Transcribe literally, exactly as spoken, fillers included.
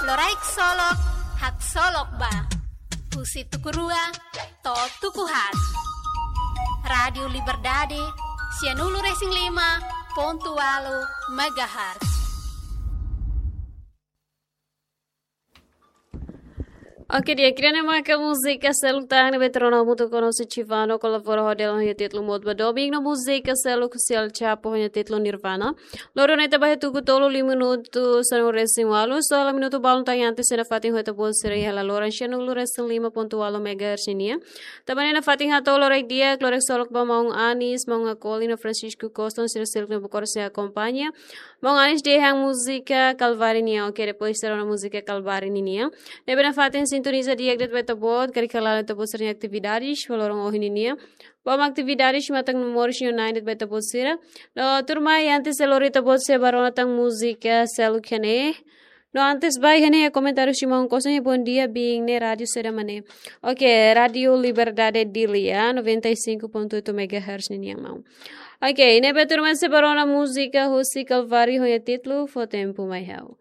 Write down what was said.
Loraik Solok, Haksolok Ba. Husi tuku rua to'o tuku haat. Rádiu Liberdade, sianulu-resin-lima pontu ualu megahertz. Oke, di'ak, ida-ne'e maka múzika seluk tan ne'ebé ita rona hamutuk ho Chivano, kolabora ho Dela, ho títulu Mood ba Domingu, no múzika seluk husi El Chapo ho títulu Nirvana. Loron ne'e ita ba iha tuku tolu liu minutu sanulu-resin-ualu, so la minutu balun tan iha antes, iha nafatin ho ita-boot sira iha laloran sianulu-resin-lima pontu ualu megahertz nian. Tanba ne'e nafatin hato'o loraik di'ak, Loraik Solok ba maun Anis, maun Akoli no Francisco Costa, sira seluk ne'ebé konsege akompaña. Maun Anis dehan múzika Kalvari nian, oke, depois ita rona múzika Kalvari ninian. Ne'ebé nafatin sintoniza di'ak de'it ba ita-boot, karik hala'o ita-boot sira-nia atividades ba loron ohin ninian. Ba atividades matan moris no nain de'it ba ita-boot sira. No tuirmai, antes de lori, ita-boot sira ba rona tan múzika seluk iha ne'e. No antes ba iha ne'e komentáriu husi maun Costa, bom dia, biin ne'e rádiu saida mak ne'e? Oke, Rádiu Liberdade Dili, noventa e cinco ponto oito megahertz ninian, maun. Oke, ne'ebé tuirmai, ita ba rona múzika husi Kalvari ho títulu Fó Tempu Mai Ha'u.